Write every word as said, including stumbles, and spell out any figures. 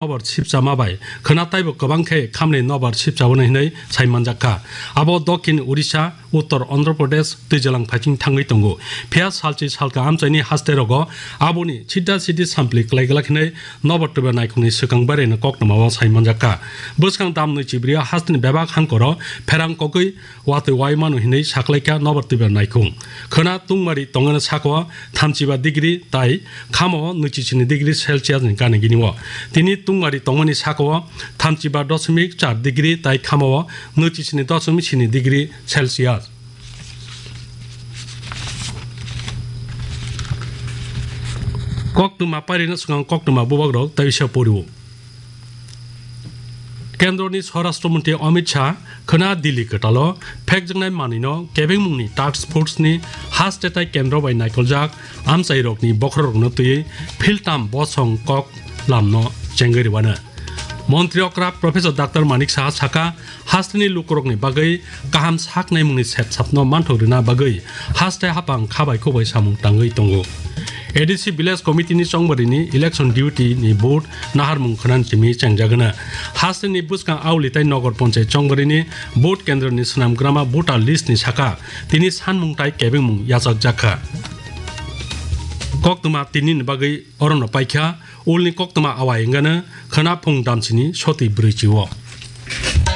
nobar sipchama bai khwna taibo kwbang khe khamni nobar sipchaboni hinwi sai manjak kha. Abo Dokhin Odisha, Uttor Andhra Pradesh twijalang phaiching thangwi tongo. Phiya salchi salka amchaini haste rogo aboni sida sidi sampli klai glak hinwi nobar twibar naikhungni swkang baireno koktwmao sai manjak kha. Bwskang dam nwi chibri hasteni bebak hangkoro pherang kogwi watwi wai mano hinwi saklaikha nobar twibar naikhung. Khwna tungmari tongmani saka o thamchiba degree tai khama o nwichi sini degree Celsius ni gana gini o. Tini tungmari tongmani saka o thamchiba dosmik char degree tai khama o nwichi sini dosmik sini degree Celsius. Koktwma pairino swkang koktwma bubagrok tai bisa poriwo. Kendroni Swarashtra Mantri Amit Shah khwna Delhi kwtalo phekjaknai manwino kebengmungni task force ni haste tai kendro bai naikoljak amchairokni bokhorokno twiwi philtam bosong kok lamno chengwi rwano. Montri okra Professor Doctor Manik Saha saka, hasteni lukurokni bagwi kaham saknaimungni sepsapno manthok rwna bagwi haste hapang khabai khukbai samung tangwi tongo. A D C Village Committee ni chongbarini election duty ni vote naharmung khwnan simi chengjagana. Hasteni bwskang auli tai nogor ponchai chongbarini vote kendroni swnamgrama voter list ni saka tini sanmung tai kebengmung yachakjakha. Koktwma tini ni bagwi orono paikha, ulni koktwma awai wngano khwna phung damsini soti brwichi o.